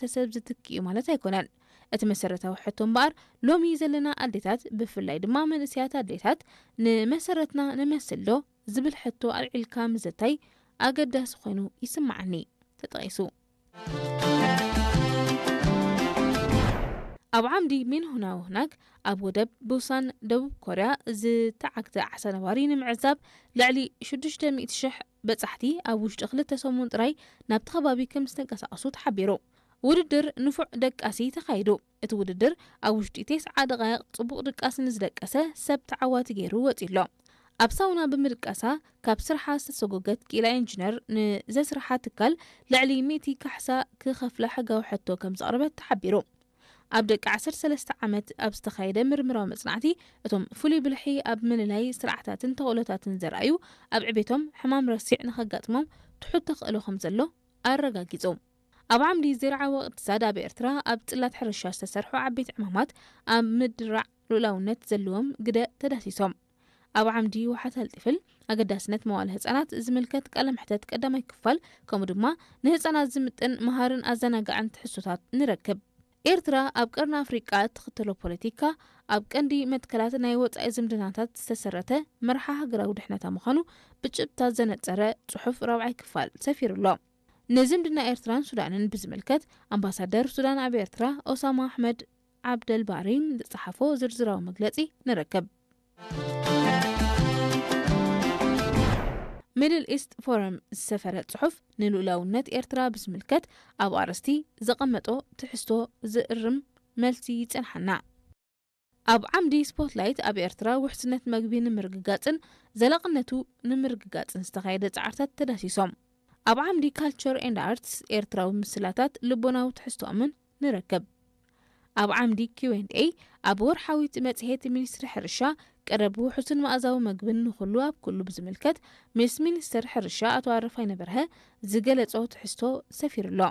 ሕብረተሰብ ዝትክእ እዩ ማለት ኣይኮነን። እቲ መሰረታዊ ሕቶ እምበኣር፣ ሎሚ ዘለና ኣዴታት፣ ብፍላይ ድማ መንእሰያት ኣዴታት፣ ንመሰረትና ንመስል ዶ ዝብል ሕቶ ኣልዒልካ ምዝታይ ኣገዳሲ ኮይኑ ይስምዓኒ። ተጠቒሱ። ኣብ ዓምዲ ሚንሁናውናግ ኣብ ወደብ ቡሳን ደቡብ ኮርያ ዝተዓግተ ዓሳ ነባሪ ንምዕዛብ፣ ልዕሊ ሽዱሽተ ሚእቲ ሽሕ በጻሕቲ ኣብ ውሽጢ ክልተ ሰሙን ጥራይ ናብቲ ከባቢ ከም ዝተንቀሳቐሱ ተሓቢሩ። ውድድር ንፉዕ ደቃሲ ተኻይዱ። እቲ ውድድር ኣብ ውሽጢ ተስዓ ደቓይቕ ጽቡቕ ድቃስ ንዝደቀሰ ሰብ ተዓዋቲ ገይሩ ወጺኡ ኣሎ። ኣብ ሳውና ብምድቃሳ ካብ ስርሓ ዝተሰጎገት ክኢላ ኢንጂነር፣ ንዘስርሓ ትካል ልዕሊ ሚእቲ ካሕሳ ክኸፍላ ሕጋዊ ሕቶ ከም ዘቕረበት ተሓቢሩ። ኣብ ደቂ ዓሰርተ ሰለስተ ዓመት ኣብ ዝተኻየደ ምርምራዊ መጽናዕቲ፣ እቶም ፍሉይ ብልሒ ኣብ ምልላይ ስርዓታትን ተኽእሎታትን ዘርኣዩ፣ ኣብ ዕቤቶም ሕማም ረሲዕ ንኸጋጥሞም ትሑት ተኽእሎ ከም ዘሎ ኣረጋጊጹ። ኣብ ዓምዲ ዘይርዓዊ እቕትሳድ ኣብ ኤርትራ ኣብ ጽላት ሕርሻ ዝተሰርሑ ዓበይቲ ዕማማት ኣብ ምድራዕ ልኡላውነት ዘለዎም ግደ ተዳሲሶም። ኣብ ዓምዲ ውሓት ኣልጢፍል ኣገዳስነት መዋለ ህጻናት ዝምልከት ቃለ መሕተት ቀዳማይ ክፋል፣ ከምኡ ድማ ንህጻናት ዝምጥን መሃርን ኣዘናጋዕን ትሕዝቶታት ንረክብ። ኤርትራ ኣብ ቀርኒ ኣፍሪቃ እትኽተሎ ፖለቲካ ኣብ ቀንዲ መትከላት ናይ ወጻኢ ዝምድናታት ዝተሰረተ መርሓ ሃገራዊ ድሕነታ ምዃኑ ብጭብጥታት ዘነጸረ ጽሑፍ ራብዓይ ክፋል ሰፊሩ ኣሎ። ንዝምድና ኤርትራን ሱዳንን ብዝምልከት ኣምባሳደር ሱዳን ኣብ ኤርትራ ኦሳማ ኣሕመድ ዓብደልባሪ ዝጸሓፎ ዝርዝራዊ መግለጺ ንረክብ። ሚድል ኢስት ፎረም ዝሰፈረ ጽሑፍ ንልኡላውነት ኤርትራ ብዝምልከት ኣብ ኣርእስቲ ዘቐመጦ ትሕዝቶ ዝእርም መልሲ ይጸንሓና። ኣብ ዓምዲ ስፖትላይት ኣብ ኤርትራ ውሕስነት መግቢ ንምርግጋጽን ዘላቕነቱ ንምርግጋጽን ዝተኻየደ ጻዕርታት ተዳሲሶም። ኣብ ዓምዲ ካልቸር ኤንድ ኣርትስ ኤርትራዊ ምስላታት ልቦናዊ ትሕዝቶኦምን ንረክብ። ኣብ ዓምዲ ኪው ኤንድ ኤ ኣብ ወርሓዊት መጽሔት ሚኒስትሪ ሕርሻ ቀረብ ውሑስን መኣዛዊ መግብን ንኹሉ ኣብ ኩሉ ብዝምልከት ምስ ሚኒስትር ሕርሻ ኣቶ ኣረፋይነ በርሀ ዝገለጾ ትሕዝቶ ሰፊሩ ኣሎ።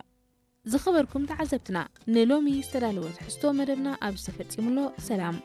ዝኸበርኩም ተዓዘብትና፣ ንሎሚ ዝተዳለወ ትሕዝቶ መደብና ኣብዚ ተፈጺሙ ኣሎ። ሰላም።